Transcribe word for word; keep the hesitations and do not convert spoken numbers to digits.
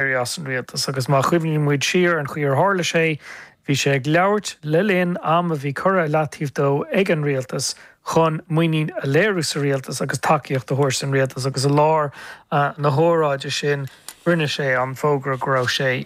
éirí as an rialtas agus má chuimhníonn muid siar an chaoi ar tharla sé, bhí sé ag labhairt le linn am a bhí curtha i leataobh dó ag an rialtas chun muinín a léiriú sa rialtas agus tacaíocht a thabhairt don rialtas agus i lár uh, na hóráide sin rinne sé an fógra go raibh sé